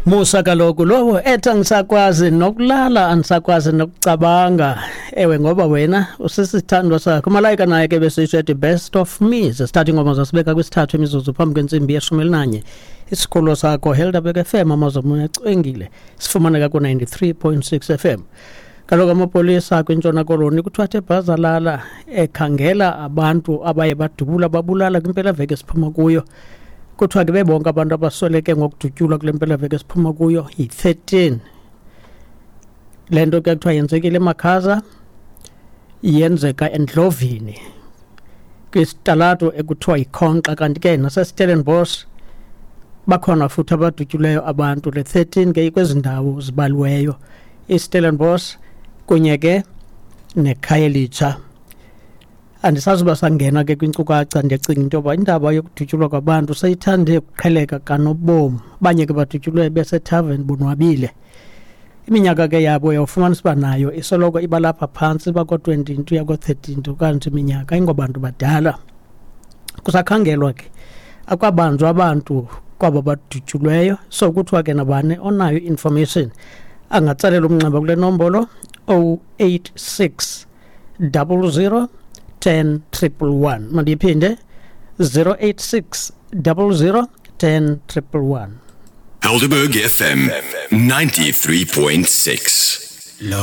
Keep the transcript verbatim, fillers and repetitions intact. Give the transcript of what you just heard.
Musa kaloku lowo ethi angisakwazi nokulala, andisakwazi nokucabanga, ewe, ngoba wena usisithandwa sakho. Umalayika naye ke besitsho ethi "Best of Me". Zesithathu ingoma zasibeka kwisithathu imizuzu phambi kwentsimbi yeshumi elinanye. Isikolo sakho Helderberg F M, amazomoya acwengile, sifumaneka ku-ninety-three point six F M. Kaloku amapolisa kwiNtshona Koloni kuthiwa athe bhazalala ekhangela abantu abaye badubula babulala kwimpelaveki esiphuma kuyo. Kuthiwa ke bebonke abantu abasweleke ngokudutyulwa kule mpelaveki esiphuma kuyo yi-thirteen. Le nto ke kuthiwa yenzekile eMakhaza, yenzeka eNdlovini kwisitalato ekuthiwa yiKhonxa, kanti ke naseStellenbosch bakhona futhi abadutyuleyo abantu. Le thirteen ke ikwezi ndawo zibaliweyo, iStellenbosch kunye ke neKhayelitsha. Andisazi uba sangena ke kwinkcukacha. Ndiyacinga into yoba indaba yokudutyulwa kwabantu seyithande ukuqheleka kanobom. Abanye ke badutyulwe besethaveni bonwabile. Iminyaka ke yabo uyawufumanisa uba nayo isoloko iba lapha phantsi, iba ko-twenty into uya ko-thirty into, kanti iminyaka ingobantu badala. Kusakhangelwa ke, akwabanjwa abantu kwaba badutyulweyo. So kuthiwa ke nabani onayo i-information angatsalela umnxeba kule nombolo oh eight six double zero ten triple one. Mandiyiphinde, zero eight six double zero ten triple one. Helderberg F M ninety-three point six. Lo